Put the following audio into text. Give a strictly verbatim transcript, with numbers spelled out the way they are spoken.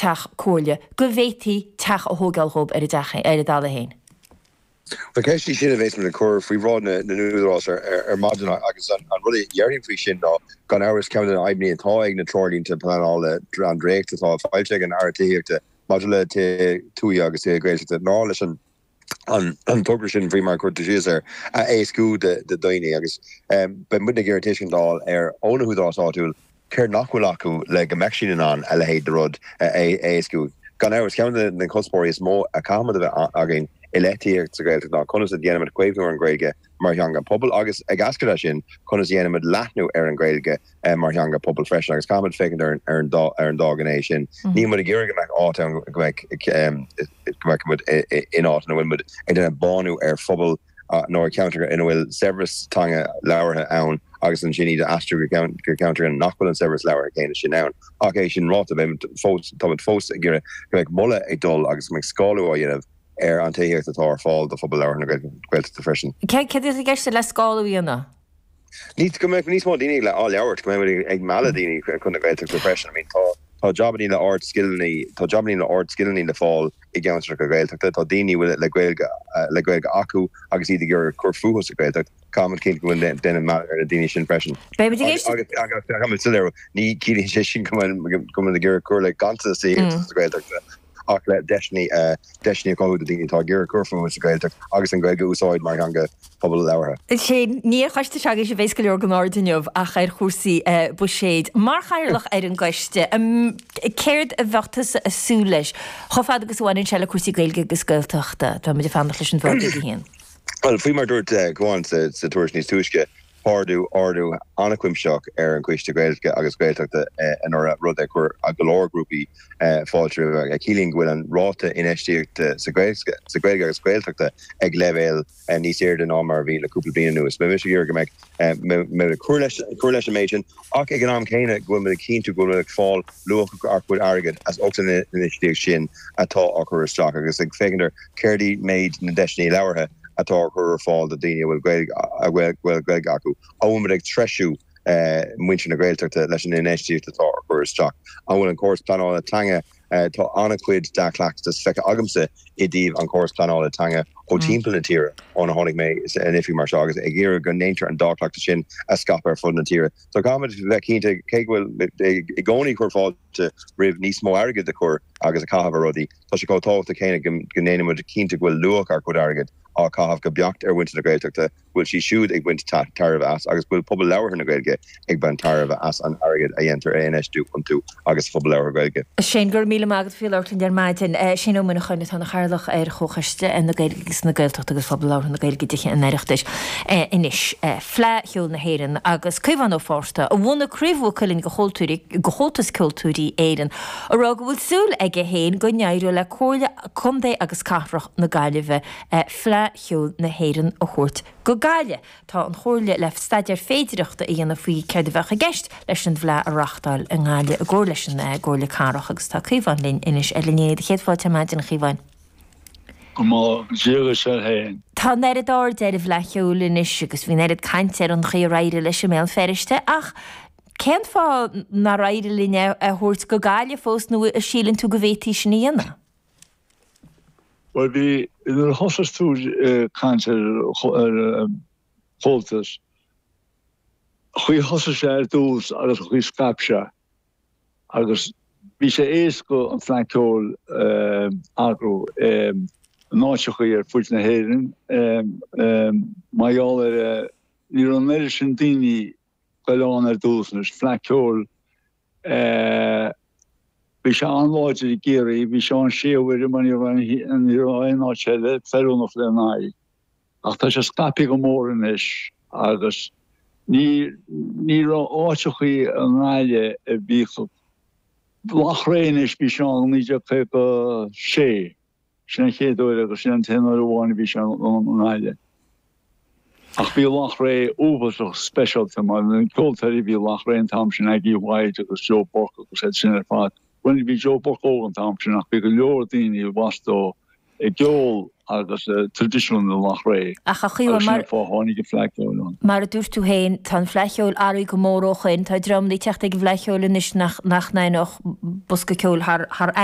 teach comhairle, go bhféadfaí teach a thógáil dhóibh ar a dteach, ar a dtalamh féin. Ba cheist í sin a bheas muid ag cur faoi bhráid na n-údarás ar maidin agus an rud a déarfainn faoi sin ná, gan amhras, ceann de na fadhbanna atá ag na treoirlínte pleanála, an dréacht atá foilsithe ag an Aire Tithíochta maidir le tithe tuaithe agus tithe Gaeltachta ná leis an an togra sin, faoi mar a chuir tú síos air, a éascú do dhaoine agus beidh muidne ag iarraidh tuiscint a fháil ar ó na húdaráis áitiúil céard nach bhfuil acu le go mbeadh siad in ann a leithéid de rud a éascú. Gan amhras, ceann de na cuspóirí is mó a chaithfimid a bheith againn i leith tithíocht sa Ghaeltacht ná conas a dhéanaimid caomhnú ar an Ghaeilge mar theanga pobail agus, ag eascairt as sin, conas a dhéanaimid leathnú ar an Ghaeilge mar theanga pobail freisin agus caithfimid féachaint ar ar an dá ar an dá ghné sin. Níl muid ag iarraidh go mbeadh áit ann go mbeadh go mbeadh muid in áit ina bhfuil muid ag déanamh bánú ar phobal nó ar cheantar ina bhfuil saibhreas teanga labhartha ann agus ansin iad a aistriú go go ceantar nach bhfuil an saibhreas labhartha céanna sin ann. Ach é sin ráite, beimid fós táimid fós ag iarraidh go mbeadh moladh ag dul agus go mbeadh scálú á dhéanamh ar an tithíocht atá ar fáil do phobal labhartha na Gaeltachta freisin. Céard atá i gceist le scálú a dhéanamh? Ní, go mbeadh níos mó daoine á labhairt, go mbeidh muid ag mealladh daoine chun na Gaeltachta freisin. I mean tá tá jabannaí le ard-scileanna, tá jabannaí le ard-scileanna le fáil i gceantracha Gaeltachta, tá daoine a bhfuil le Gaeilge le Gaeilge acu agus iad ag iarraidh cur fúthu sa Ghaeltacht, caithfimid cinntiú go bhfuil déanamh mealladh ar na daoine sin freisin. Beimid ag éisteacht. Agus agus caithfimid soiléiriú, ní ciallaíonn sé sin go bhfuil go bhfuil ag iarraidh cur le ganntanas tithíochta sa Ghaeltacht. ach le deiseanna deiseanna a chothú do daoine atá ag iarraidh cur fúthu sa Ghaeltacht agus an Ghaeilge a úsáid mar theanga pobail labhartha. Shane, ní ar choiste s'agaibhse a bheas go leor den aird inniu ach ar chúrsaí buiséid. Mar chathaoirleach ar an gcoiste, céard a bheadh tusa ag súil leis, chomh fada agus a bhaineann sé le cúrsaí Gaeilge agus Gaeltachta? Tá muid ag fanacht leis an bhfógra ag a haon. Bhuel, faoi mar a dúirt Caomhán sa tuairisc níos túisce, Tá ardú, ardú an-chuimsitheach ar an Choiste Gaeilge agus Gaeltachta anuraidh, rud a chuir go leor grúpaí fáilte roimhe, a chiallaíonn go bhfuil an ráta infheistíochta sa Ghaeilge agus Gaeltachta ag leibhéal níos airde ná mar a bhí le cúpla bliain anuas. Beidh mise ag iarraidh go mbeidh muid ag cur leis cur leis an méid sin ach ag an am céanna go bhfuil muid ag cinntiú go bhfuil muid ag fáil luach ár gcuid airgid as ucht an infheistíocht sin atá á cur isteach agus ag féachaint ar céard í méid na ndeiseanna labhartha atá á chur ar fáil do dhaoine a bhfuil Gaeilge a bhfuil Gaeilge acu. An bhfuil muid ag treisiú muintir na Gaeltachta leis an infheistíocht atá á chur isteach? An bhfuil an córas pleanála teanga, tá an-chuid dea-chleachtas feicthe agamsa i dtaobh an chóras pleanála teanga ó timpeall na tíre óna tháinig mé in oifig mar seo agus ag iarraidh go ndéantar an dea-chleachtas sin a scaipeadh ar fud na tíre. So caithfimid bheith cinnte, cé go bhfuil i gcónaí ag cur fáilte roimh níos mó airgid a chur agus a chaitheamh ar rudaí, tá sé chomh tábhachtach céanna go ndéanaimid cinnte go bhfuil luach ár gcuid airgid á chaitheamh go beacht ar mhuintir na Gaeltachta, go bhfuil siad siúd ag baint tairbhe as agus go bhfuil pobal labhartha na Gaeilge ag baint tairbhe as an airgead a dhéantar a infheistiú iontu agus sa phobal labhartha Gaeilge. Shane, go raibh míle maith agat faoi labhairt linn ar maidin. Shane Ó Muineacháin atá ina chathaoirleach ar Chomhchoiste na Gaeilge agus na Gaeltachta agus Phobal Labhartha na Gaeilge i dTithe an Oireachtais anois. Fleadh Cheoil na hÉireann agus Caomhán Ó Fátharta, a bhunaigh Craobh Mhaigh Cuilinn de Chomhaltas Ceoltóirí Éireann, ag rá go bhfuil súil aige féin go n-éireoidh le Comhairle Contae agus Cathrach na Gaillimhe Fleadh Cheoil na hÉireann a thabhairt go Gaillimh. Tá an Chomhairle le staidéar féidireachta a dhéanamh faoi céard a bheadh i gceist leis an bhFleadh a reáchtáil i nGaillimh i gcomhar leis an gComhairle Cathrach agus tá Caomhán linn anois ar an líne. Céad fáilte ar maidin, a Chaomháin. Go mba Dia dhuit féin. Tá an oiread airde ar an bhFleadh Cheoil anois agus bhí an oiread cainte ar an chaoi ar éirigh leis i mBéal Feirste ach cén fáth nár éirigh linn é a thabhairt go Gaillimh fós nó an síleann tú go bhféadfaí sin a dhéanamh? Bhuel bhí, nuair a thosaigh tú ag caint ar Chomhaltas, an chaoi a thosaigh sé ar dtús agus an chaoi a scaip sé agus bhí sé éasca an Fleadh Ceoil a eagrú in áiteachaí ar fuid na hÉireann mar gheall ar ní raibh an oiread sin daoine ag goil ann ar dtús anois Fleadh Ceoil bhí sé an-láidir i gCiarraí bhí sé ann sé huaire mar ní raibh ní raibh aon áit eile feiliúnach lena aghaidh ach tá sé scaipthe go mór anois agus ní ní raibh áiteachaí i nGaillimh a bhí Loughrea anois bhí sé ann naoi déag caoga sé. Sin an chéad uair agus sin an t-aon uair amháin a bhí sé i nGaillimh. Ach bhí Loughrea uafásach speisialta mar na ceoltóirí a bhí i Loughrea an t-am sin, Aggie White agus Joe Burke agus iad sin ar fad. Bhuel ní bhí Joe Burke óg an t-am sin ach bhí go leor daoine i bhfastó i gceol agus traidisiún i Loughrea Ach a Chaomháin, agus sin an fáth a tháinig an Fleadh Cheoil ann. Mar a dúirt tú féin, tá an Fleadh Cheoil athraithe go mór ó shoin. Tá dreamanna ag teacht ag an bhFleadh Cheoil anois nach nach n-aithneodh bosca ceoil thar thar